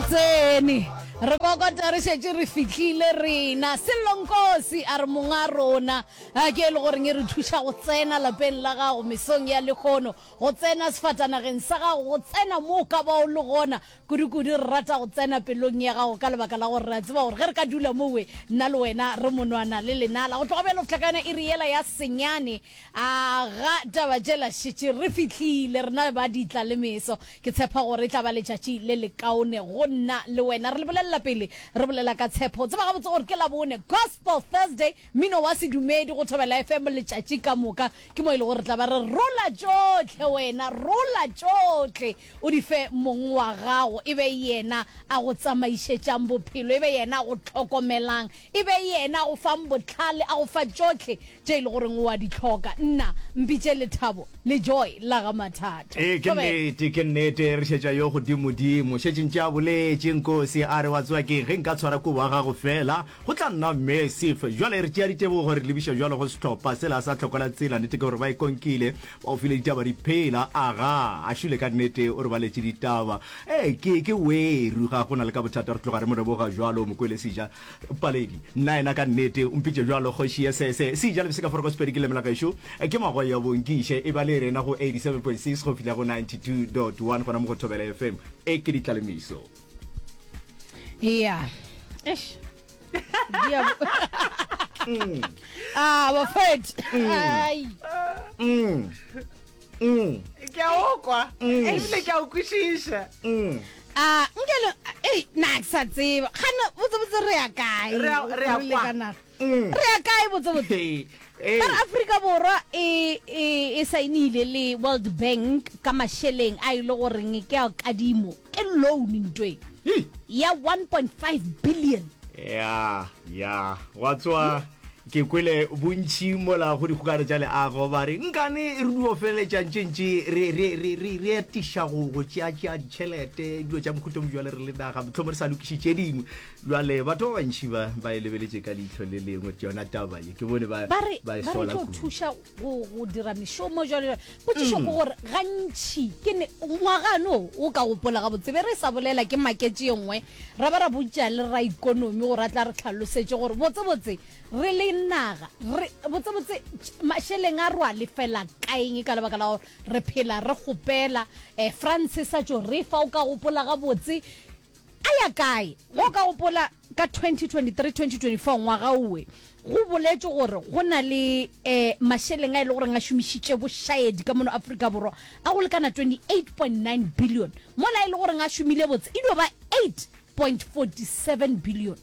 Tsene re kokota re šetše re fihlile rena. Sello Nkosi a re monga rona a ke e le goreng e re thuša go tsena lapeng la gago mesong ya lehono, go tsena sefatanageng sa gago, go tsena mo o ka ba o le gona. Kudu-kudu re rata go tsena pelong ya gago ka lebaka la gore re a tseba gore ge re ka dula mowe nna le wena re monwana le lenala. Go tloga bjalo go fihla ka yona iri yela ya senyane a ga taba tšela šetše re fihlile rena ba ditla le meso. Ke tshepa gore e tla ba letšatši le lekaone go nna le wena. Re le bolelela pele re bolela ka tshepo. O tseba gabotse gore ke Labone, Gospel Thursday, mmino wa sedumedi go Thobela FM letšatši ka moka. Ke mo e lego re tla ba re rola tšohle wena, rola tšohle o di fe mong wa gago, e be yena a go tsamaišetšang bophelo, e be yena a go hlokomelang, e be yena a go fang bohlale, a go fa tšohle tše e le goreng o a di hloka. Nna, mpitše Lethabo le Joy la ga Mathatho. Ee, ke Thobela. nnete, ke nnete, re šetša yo godimodimo. Šetše ntše a boletše, Nkosi, a re, Wa tseba keng, ge nka tshwara kobo ya gago feela, go tla nna massive. Bjale re tšea ditebogo, re lebiša bjalo go sehlopha sela sa Tlhokola Tsela. Nnete ke gore ba e konkile, ba o file ditaba di phela. Aga, a šule ka nnete, o re baletše ditaba. Ee, ke, ke weru, ga go na le ka bothata, re tloga re mo leboga bjalo, Mokwele Seja. Paledi, Nna yena ka nnete, o mpitše bjalo, kgoši ye sese. Seja le Bseka Foroko Sepedi ke leme la gešo, ke magoe ya bonkiše. E ba le rena go 87.6 go fihla go 92.1 gona mo go Thobela FM. E ke ditlalemiso. Ya. Eish. Dia. Mm. Ah, bafet. Mm. Ai. Mm. Mm. Ke a o kwa. Mm. Ebile ke a o kwešiša. Mm. Ah, nkele, ei, na ke sa tseba. Gana botse botse re ya kae? Re ya- re ya le kwa. ka naga. Mm. Re ya kae botse botse? Hey, hey. Ba re Afrika Borwa e e e saenile le World Bank ka mašeleng a e le goreng ke a kadimo, ke loan ntwe Hei. ya 1.5 billion. Ya, ya, gwa tsoa Ke kwele bontši mola go dikgokano tša leago ba re, Nkane re dio feleletša ntše ntše re, re, re, re, re atiša go, go tšeatšea ditšhelete, dilo tša mohuta mo bjale re le naga, mohlomong re sa lokiše tše dingwe. Bjale batho ba bantši ba, ba e lebeletše ka leihlo le lengwe yona taba ye. Ke bone ba, Ba re, ba e ba re sola tlo kudu. thuša go, go dira mešomo jwalo jwalo. Potšišo ke gore gantši ke ne, ngwaga no o ka gopola gabotse be re sa bolela ke maketše ye nngwe, ra ba ra botša le raikonomi gore a tla re hlalosetše gore botsebotse Re le naga, re, botsebotse, mašeleng a re a lefela kaeng ka lebaka la gore re phela re kgopela. Eh, France sa tšo re fa, o ka gopola gabotse, a ya kae? Ge o ka gopola ka 2023, 2024, ngwaga owe, go boletšwe gore go na le eh, mašeleng a e le goreng a šomišitše bošaedi ka mono Afrika Borwa a go lekana 28.9 billion, mola e le goreng a šomile botse e dio ba 8.47 billion.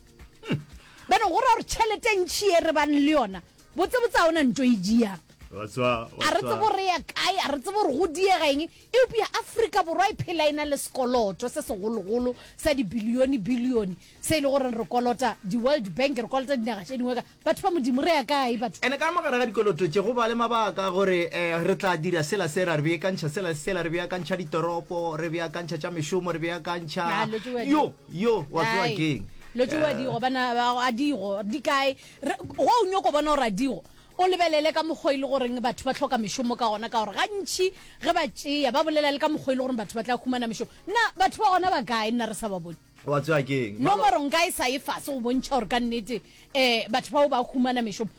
Bjale go ra gore tšhelete e ntši ye re bang le yona, botsebotse ga o na nto e diang. A re tsebe gore re ya kae, a re tsebe gore go diega eng, eupša Afrika Borwa e phela e na le sekoloto se segologolo sa dibilione-bilione se e le gore re kolota di-World Bank, re kolota dinaga tše dingwe ka Batho ba Modimo, re ya kae batho? Ene ka mogare ga dikoloto tše go ba le mabaka gore re tla dira sela se, ra re beakantšha sela le sela, re beakantšha ditoropo, re beakantšha tša mešomo, re beakantšha Ah, lo tšewa di- yo, yo, wa tseba Ai, keng? lo tšewa digo, bana ba, a digo, di kae? Re, go o nyoko bona gore a digo, o lebelele ka mokgwa e le goreng batho ba hloka mešomo ka gona, ka gore gantši ge ba tšea, ba bolela le ka mokgwa e le goreng batho ba tla humana mešomo. Na batho ba gona ba kae nna re sa ba bone? Wa tseba keng? Nomoro nka e sa ye fase go bontšha gore ka nnete um batho bao ba humana mešomo.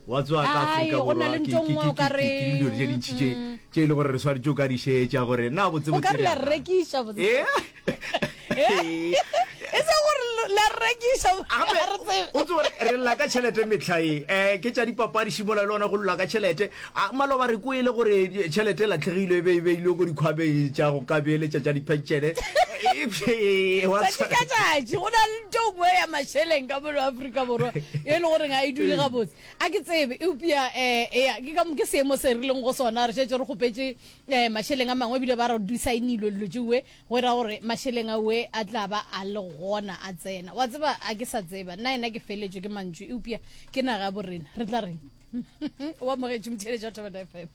Wa tseba ka Ai, Afrika go na Borwa le ke ntho ke nngwe o ke ka ke re ke dilo tše dintši tše tše e le gore re swanetše o ka di šetša gore na botse o ka botse re re la ya re kae. rekiša botse. Eh? E se gore la re rekiša Gape ga re tsebe. o tsebe gore re lla ka tšhelete mehla ye um ke tša dipapadi šimola le ona go lla ka tšhelete A maloba re kwele gore tšhelete e latlhegile e be e beilwe ko dikhwameng tša go ka beeletša tša dipentšene. Tšatši ka tšatši go na le ntho nngwe ya mašeleng ka mono Afrika Borwa e le goreng ga e dule gabotse. A ke tsebe eupša um ea ke ka ke seemo se re leng go sona re šetše re kgopetše um mašeleng a mangwe ebile ba re di saenilwe dilo tšeoe go ra gore mašeleng aoe a tla ba a le gona a tsena. Wa tseba a ke sa tseba nna ena ke feletšwe ke mantšu eupša ke naga ya borena re tla reng? O amogetše motheeletši wa Thobela FM.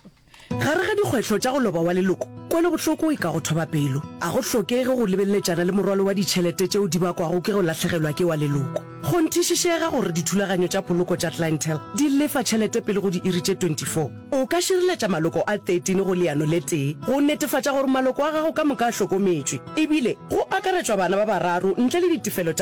Gare ga dikgwetlho tša go loba wa leloko, kwelobohloko e ka go thoba pelo. A go hlokege go lebeleletšana le morwalo wa ditšhelete tšeo di bakwago ke go lahlegelwa ke wa leloko. Kgonthišišega gore dithulaganyo tša poloko tša Clientele di lefa tšhelete pele go diiri tše 24. O ka šireletša maloko a 13 go leano le tee go netefatša gore maloko a gago ka moka a hlokometšwe, ebile go akaretšwa bana ba bararo ntle le ditefelo tša.